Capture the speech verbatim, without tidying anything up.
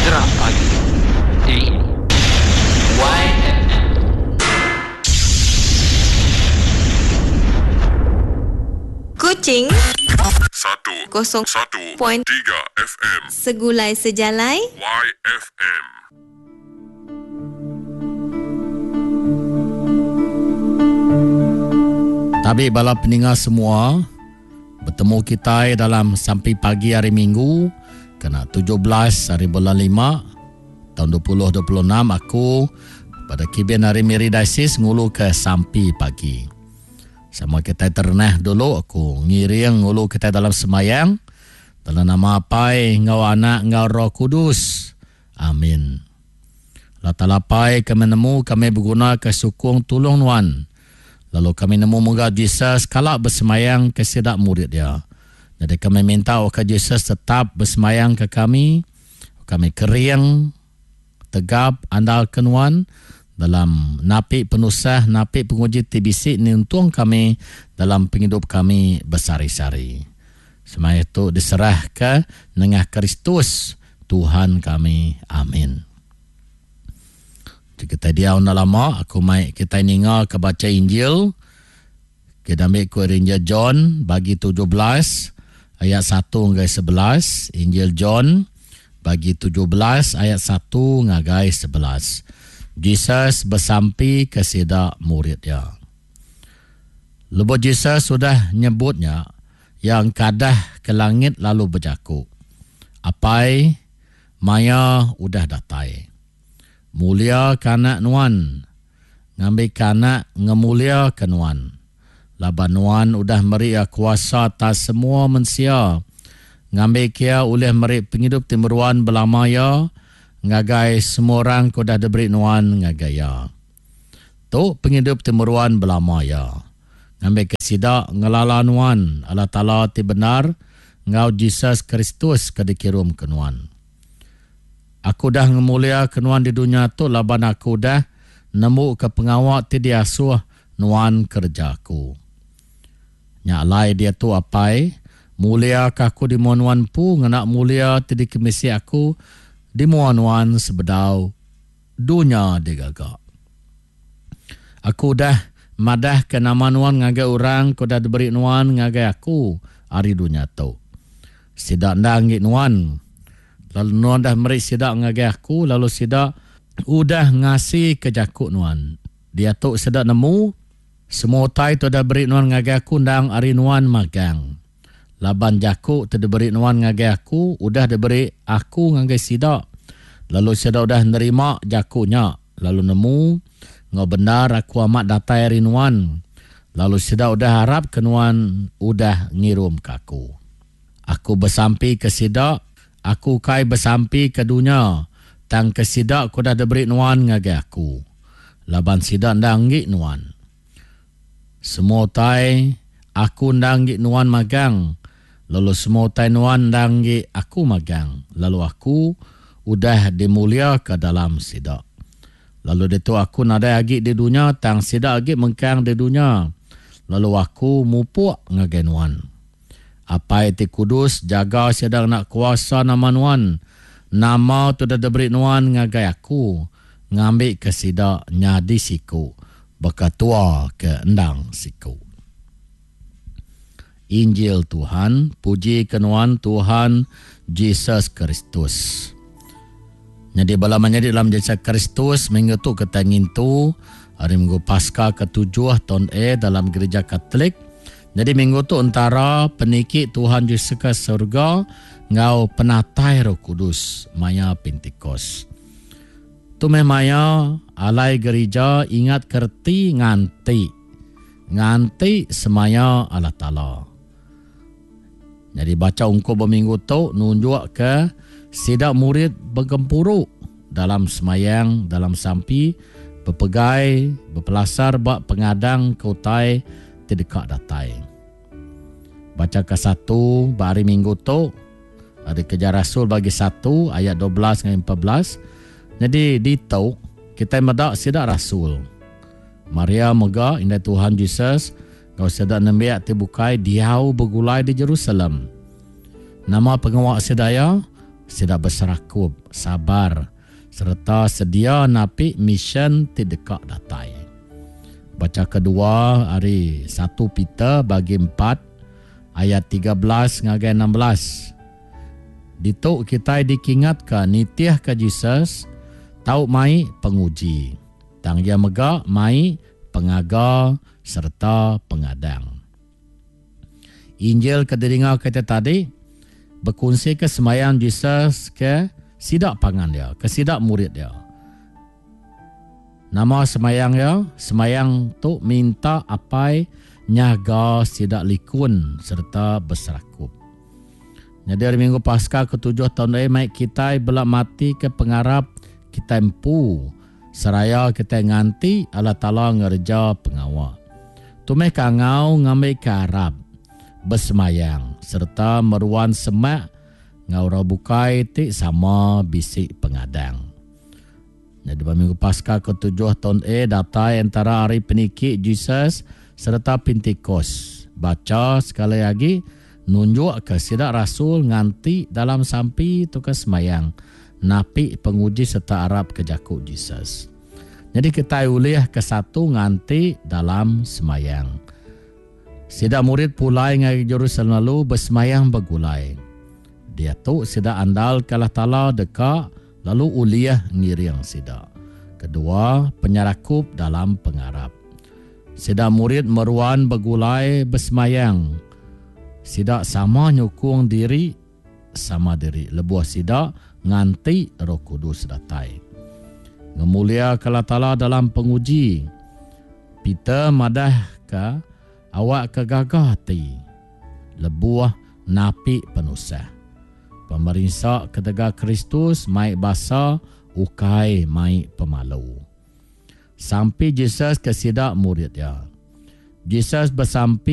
Geram Pagi di Y F M. Kuching Satu kosong satu point tiga F M Segulai Sejalai Y F M. Tabi bala peninga semua, bertemu kita dalam sampai pagi hari Minggu kena tujuh belas hari bulan lima tahun dua ribu dua puluh enam. Aku pada kibin hari Miri Diocese ngulu ke sampai pagi. Sama kita ternah dulu, aku ngiring ngulu kita dalam semayang dalam nama Apai ngau Anak ngau Roh Kudus. Amin. Allah Taala Apai, kami nemu kami berguna ke sukung tulung nuan. Lalu kami nemu moga Jesus kalak bersemayang ke sidak murid dia. Jadi kami minta ke Jesus tetap bersemayang ke kami. Kami kering, tegap, andal ke nuan dalam napi penusah, napi penguji T B C ni untung kami dalam penghidup kami bersari-sari. Semaya itu diserah ke nengah Kristus Tuhan kami. Amin. Jadi kita dia unda lama, aku mai kita ninga ke baca Injil. Kita ambil ku Injil John bagi tujuh belas ayat satu hingga sebelas. Injil John bagi tujuh belas ayat satu ngagai sebelas. Jesus bersampi ke sida murid dia. Lebuh Jesus sudah nyebutnya, yang kadah ke langit lalu berjaku, Apai, maya udah datai. Mulia kanak nuan, ngambil kanak ngemulia ke nuan. Laban nuan udah meri kuasa atas semua mensia, ngambil kia oleh meri penghidup timeruan belamaya, ngagai semua orang ke udah diberi nuan ngagai ya. Tu penghidup timeruan belamaya. Ngambil ke sida ngelala nuan Allah Taala ti benar ngau Jesus Kristus ke dikirum ke nuan. Aku dah ngemulia ke nuan di dunia tu laban aku dah nemu ke pengawak ti diasuh nuan kerja aku. Nyak lai dia tu apai, mulia ke aku di mua nuan pu ngena mulia ti dikemisi aku di mua nuan sebedau dunia digagak. Aku dah madah ke nama nuan ngagai orang ke dah diberi nuan ngagai aku hari dunia tu. Sidak ndang ngik nuan. Lalu nuan dah meri sidak ngagai aku, lalu sidak udah ngasi ke jakuk nuan. Dia tu sidak nemu semua utai tu dah beri nuan ngagai aku ndang hari nuan magang. Laban jakuk tu diberi nuan ngagai aku, udah diberi aku ngagai sidak. Lalu sidak udah nerima jakuknya, lalu nemu ngau benar aku amat datai hari nuan. Lalu sidak udah harap ke nuan udah ngirum ke aku. Aku bersampi ke sidak, aku kai bersampi ke dunia, tang ke sidak ku dah diberi nuan ngagai aku. Laban sidak ndang ngik nuan. Semua utai aku ndang ngik nuan magang, lalu semua utai nuan ndang ngik aku magang, lalu aku udah dimulia ke dalam sidak. Lalu ditu aku nadai agi di dunia, tang sidak agi mengkang di dunia. Lalu aku mupuk ngagai nuan. Apai ti kudus jaga sidak nak kuasa nama nuan. Nama tu dah diberi nuan ngagai aku, ngambil ke sidak nyadi siku, bekatua ke endang siku. Injil Tuhan, puji ke nuan Tuhan Jesus Kristus. Jadi bala menyadi dalam Jesus Kristus, minggu tu kita ngintu hari Minggu Paskah ketujuh tahun A dalam gereja Katolik. Jadi minggu tu antara peniki Tuhan Yesus ke surga ngau penatai Roh Kudus maya Pentecost. Tu meh maya alai gereja ingat kerti nganti. Nganti semaya Allah Taala. Jadi baca ungkup berminggu tu nunjuk ke sidak murid bergempuru dalam semayang, dalam sampi, berpegai, berpelasar bak pengadang ke utai tidak datai. Baca ke satu hari Minggu tu ada Kerja Rasul bagi satu ayat dua belas hingga empat belas. Jadi di tu kita medak sidak rasul. Maria mega indai Tuhan Jesus ngau sidak nembiak ti bukai diau bergulai di Jerusalem. Nama pengawak sedaya Sida beserakup, sabar sereta sedia napi misyen ti deka datai. Bacha kedua ari satu Peter bagi empat ayat tiga belas ngagai enam belas. Ditu kitai dikingatka nitihka Jesus tau mai penguji. Tang iya mega mai pengaga sereta pengadang. Injil ke didinga kita tadi bekunsi ke semayang Jesus ke sida pangan dia, ke sida murid dia. Nama semayang dia? Semayang tu minta apai nyaga sida likun sereta beserakup. Jadi hari Minggu Paskah ketujuh tahun ini mai kita bela mati ke pengarap kita empu seraya kita nganti Allah Taala ngerja pengawa. Tu meh kangau ngambil ke arap bersemayang serta meruan semak ngau orang bukai ti sama bisi pengadang. Jadi pada Minggu Paskah ketujuh tahun A datai antara hari peniki Jesus serta Pentecost. Baca sekali lagi nunjuk ke sida rasul nganti dalam sampi tu ke semayang napi penguji serta arap ke jaku Jesus. Jadi kita ulih ke satu nganti dalam semayang. Sida murid pulai ngagai Jerusalem lalu bersemayang bergulai. Dia tu sida andal ke Allah Taala deka lalu uliah ngiring sida. Kedua, penyerakup dalam pengarap. Sida murid meruan bergulai bersemayang. Sida sama nyukung diri sama diri. Lebuh sida nganti Roh Kudus datai. Ngemulia ke Allah Taala dalam penguji. Peter madah ke awak ke gagah hati. Lebuh napi penusah. Pemerinsa ketegal Kristus mai basa ukai mai pemalu. Sampai Jesus ke sida murid dia. Jesus bersampi